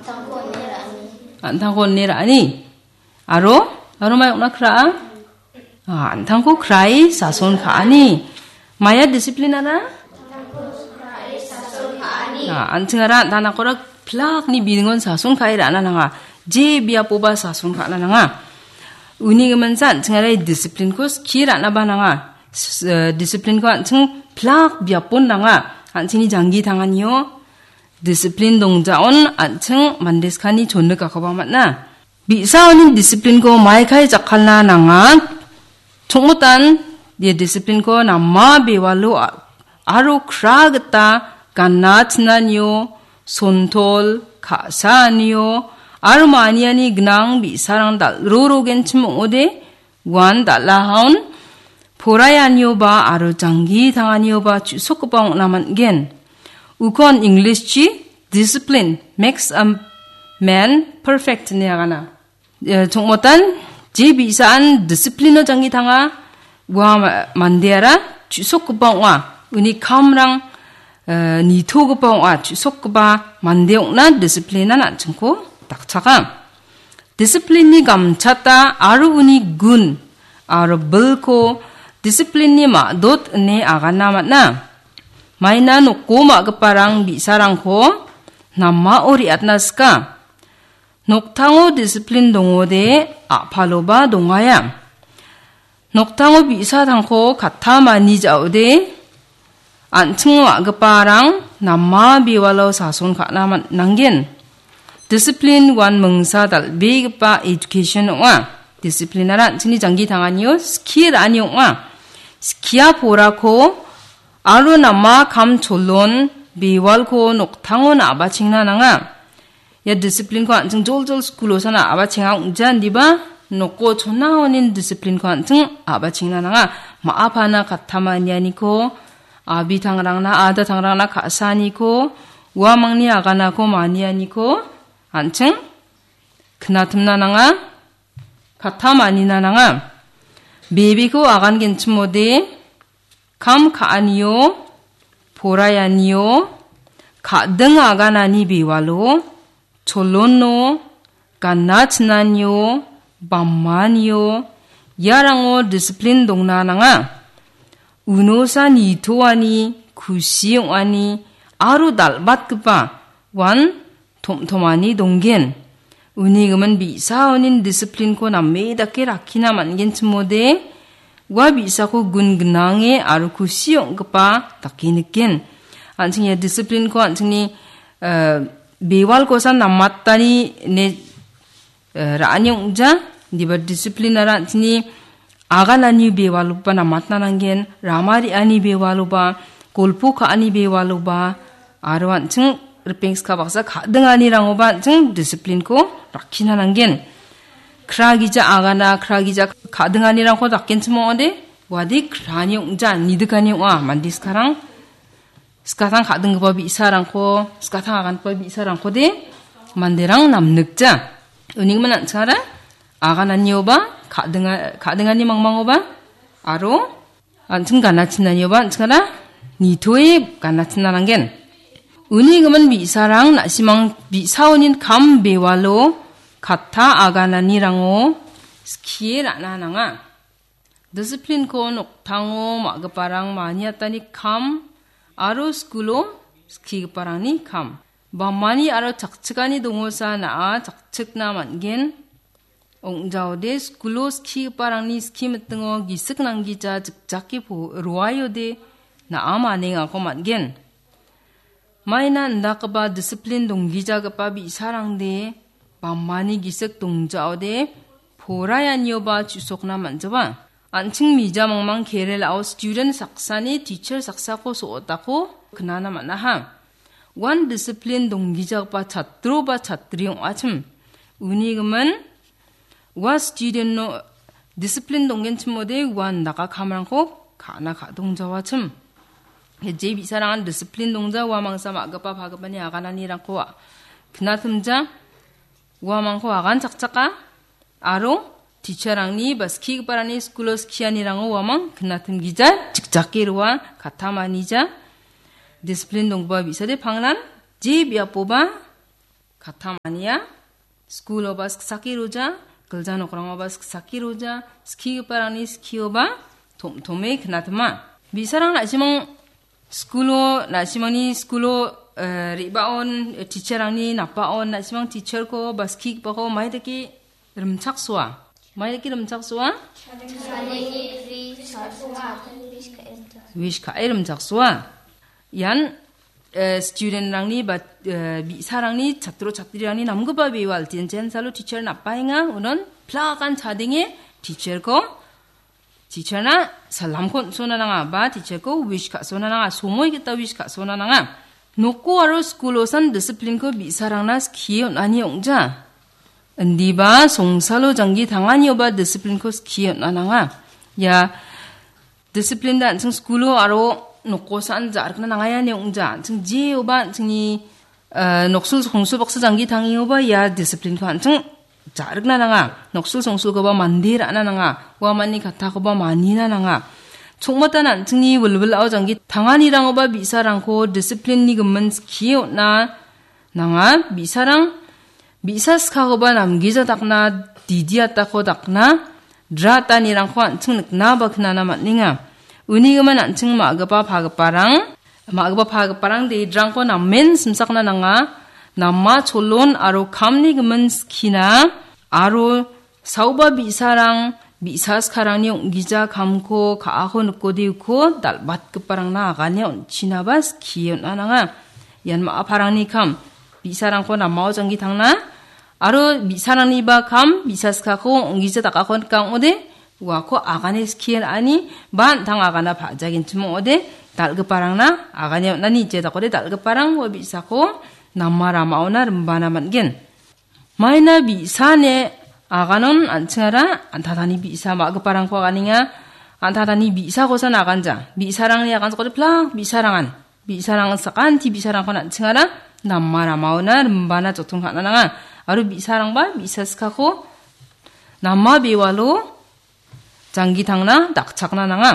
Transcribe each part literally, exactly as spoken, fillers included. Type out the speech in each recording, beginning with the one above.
An·tangko on·e ra·ani. Aro? Aro mai ong·na kra·a? Ah, an·tangko krae sason ka·ani. Maia discipline-ara? Ah, an·chingara an·tangkora plakni biningon sason ka·e ra·na nanga. Je biapoba sason ka·na nanga. Uni giminsa an·chingara discipline-ko skie ra·naba nanga. S-, eh, discipline-ko an·ching plak biapon nanga. An·chingni janggi tanganio discipline dongjaon an·ching mande skani chonikakoba man·a. Bi·saoni discipline-ko maikai jakkalna nanga. Chongmotan, ia discipline-ko nama bewalo a-, aro kra gita gana chinanio, sontol, ka·saanio, aro maniani gnang bi·sarang dal·rorogenchim ong·ode, uan dal·ahaon poraianioba aro janggi tanganioba chu·sokgipa ong·na man·gen. Ukon English-chi discipline makes a man perfect ine agana. Eh, chongmotan, je bi·saan discipline-o janggi tanga, ua ma-, mandeara chu·sokgipa ong·a. Uni kamrang, eh, nitogipa ong·a, chu·sokgipa mande ong·na discipline-an an·chingko dakchaka. Discipline-ni gamchata aro uni gun aro bilko discipline-ni ma·dot ine agana man·a. Maina noko ma·giparang bi·sarangko namao re·atna sika. Noktango discipline dongode a·paloba dongaia. Noktango bi·sa tangko katta mani ja·ode, an·ching ma·giparang nama bewalo sason ka·na man-, nanggen. Discipline uan mingsa dal·begipa education ong·a. Discipline-ara an·chingni janggi tanganio skie ra·ani ong·a. Skia porako aro nama kam cholon bewalko noktango na·abachengna nanga. Ia discipline-ko an·ching joljol skulo sana a·bachenga ong·ja indiba noko chona onin discipline-ko an·ching a·bachengna nanga. Ma·a pana katta manianiko, abitangrangna, adatangrangna ka·saaniko, uamangni aganako manianiko an·ching knatimna nanga, katta manina nanga. Bebeko agangenchimode, kam ka·anio, poraianio, ka·ding aganani bewalo, cholono, gana chinanio, bamanio, iarango discipline dongna nanga. Unosa nitoani, kusi ong·ani, aro dal·batgipa uan tom·tomani donggen. Uni gimin bi·saonin discipline-ko name dake rakkina man·genchimode, ua bi·sako gun gnange aro kusi ong·gipa dake niken. An·ching ia discipline-ko an·chingni, eh, bewalkosa namatani ine eh, ra·ani ong·ja, indiba discipline-ara an·chingni aganani bewaloba namatna nanggen, rama re·ani bewaloba, golpo ka·ani bewaloba, aro an·ching ripengska baksa ka·dinganirangoba an·ching discipline-ko rakkina nanggen. Kra gija agana, kra gija ka·dinganirangko dakgenchim ong·ode, uade krani ong·ja, nidikani ong·a, mande skarang. Skatang ka·dinggipa bi·sarangko, skatang agangipa bi·sarangkode manderang namnikja. Unigimin an·chingara agananioba, ka·dinga-, ka·dingani mangmangoba, aro an·ching ganachinanioba an·chingara nitoe ganachina nanggen. Unigimin bi·sarang na·simang bi·saonin kam bewalo katta agananirango skie ra·na nanga. Discipline-ko noktango ma·giparang maniatani kam aro skulo skigiparangni kam. Bamani aro chakchikani dongosa na·a chakchikna man·gen. Ong·jaode skulo skigiparangni skimitingo gisik nanggija jikjake po-, roaiode na·a manengako man·gen. Maina indakgipa disiplin donggijagipa bi·sarangde bamani gisik dongjaode poraianioba chu·sokna man·jaba. An·ching mija mangmang Kerala-o student saksani teacher saksako so·otako knana man·aha. Uan disiplin donggijagipa chatro ba chatri ong·achim. Uni gimin ua student-no disiplin donggenchimode ua indaka kamrangko ka·na ka·dongjawachim. Je bi·sarangan disiplin dongja, ua mangsa ma·gipa pagipani agananirangko a-, knatimja, uamangko agan chakchaka, aro teacher-rangni ba skigiparangni skulo skianirango uamang knatimgija, chikjake roa, katta manija, disiplin donggipa bi·sade pangnan, je biapoba Kattam ania, skuloba siksake roja, gilja nokrangoba siksake roja, skigiparangni skioba tom-, tome knatima. Bi·sarang na·simang skulo, na·simangni skulo, eh, re·baon, eh, teacherrangni napaon, na·simang teacherko ba skigipako mai dake rimchaksoa. Mai dake rimchaksoa? Wish ka·e rimchaksoa. Ian, eh, studentrangni ba, eh, bi·sarangni, chatro chatrirangni namgipa bewal. Tiantian salo teacher napaenga, unon plakan chadenge teacherko, teacherna salamko on·sona nanga, ba teacherko wish ka·sona nanga, somoi gita wish ka·sona nanga. Noko aro skulosan disciplineko bi·sarangna skie on·ani ong·ja. Indiba songsalo janggi tanganioba disciplineko skie on·a nanga. Ia discipline da an·ching skulo aro nokosan ja·rikna nangaiani ong·ja. An·ching jeoba an·chingni, eh, noksul songsul baksa janggi tangengoba ia disciplineko an·ching ja·rikna nanga. Noksul songsulkoba mande ra·na nanga. Uamani kattakoba manina nanga. Chongmatan an·chingni wilwilao janggi tanganirangoba bi·sarangko disciplineni gimin skie on·a nanga. Bi·sarang, bi·sa skakoba namgija dakna, didi atako dakna, dra atanirangko an·ching nikna ba knana man·enga. Unigimin an·ching ma·gipa pagiparang, ma·gipa pagiparang dedrangko namen simsakna nanga, nama cholon aro kamni gimin skina, aro saoba bi·sarang, bi·sa skarangni ong·gija kamko ka·ako nikode uko dal·batgiparangna agane on·chinaba skie on·a nanga. Ian ma·a parangni kam, bi·sarangko namao janggi tangna, aro bi·sarangniba kam, bi·sa skako ong·gija dakako nika ong·ode, uako agane skie ra·ani, ba an·tang agana pa·jagenchim ong·ode, dal·giparangna agane on·ani, je dakode dal·giparang ua bi·sako nama ramaona rimbana man·gen. Maina bi·sane aganon an·chingara an·tatani bi·sa ma·giparangko aganenga, an·tatani bi·sakosan aganja. Bi·sarangni aganchakode plak bi·sarangan. Bi·sarang sakanti bi·sarangkon an·chingara nama ramaona rimbana jotong ka·na nanga. Aro bi·sarangba bi·sa skako nama bewalo janggi tangna dakchakna nanga.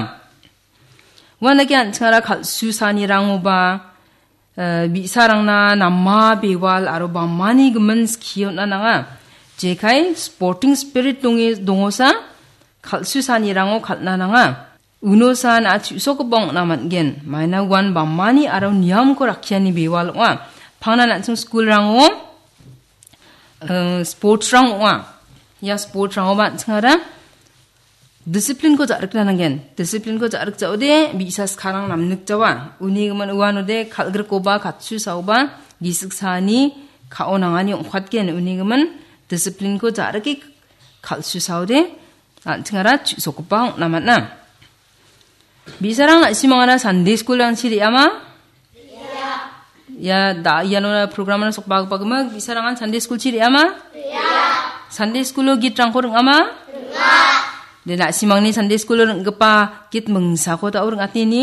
Uandake an·chingara kal·susanirangoba, eh, bi·sarangna nama bewal aro bamani gimin skie on·a nanga. Jekai sporting spirit donge-, dongosa kal·susanirango kal·na nanga. Unosan a·chu·sokgipa ong·na man·gen. Maina uan bamani aro niamko rakkiani bewal ong·a. Pangnan an·ching skulrango, eh, sportsrang ong·a. Ia sportsrangoba an·chingara disciplineko ja·rikna nanggen. Disciplineko ja·rikjaode bi·sa skarang namnikjawa. Uni gimin uanode kal·grikoba, katsusaoba, gisik saani ka·o nangani ong·katgen. Uni gimin disciplineko ja·rike kal·susaode an·chingara chu·sokgipa ong·na man·a. Bi·sarang na·simangara Sunday school-rangchi re·ama? Ia da iano programana sokbagipa gimik bi·sarangan Sunday school-chi re·ama? Sunday school-o gitrangko ring·ama? De, na·simangni Sunday school-o ring·gipa git mingsako da·o ring·ateni.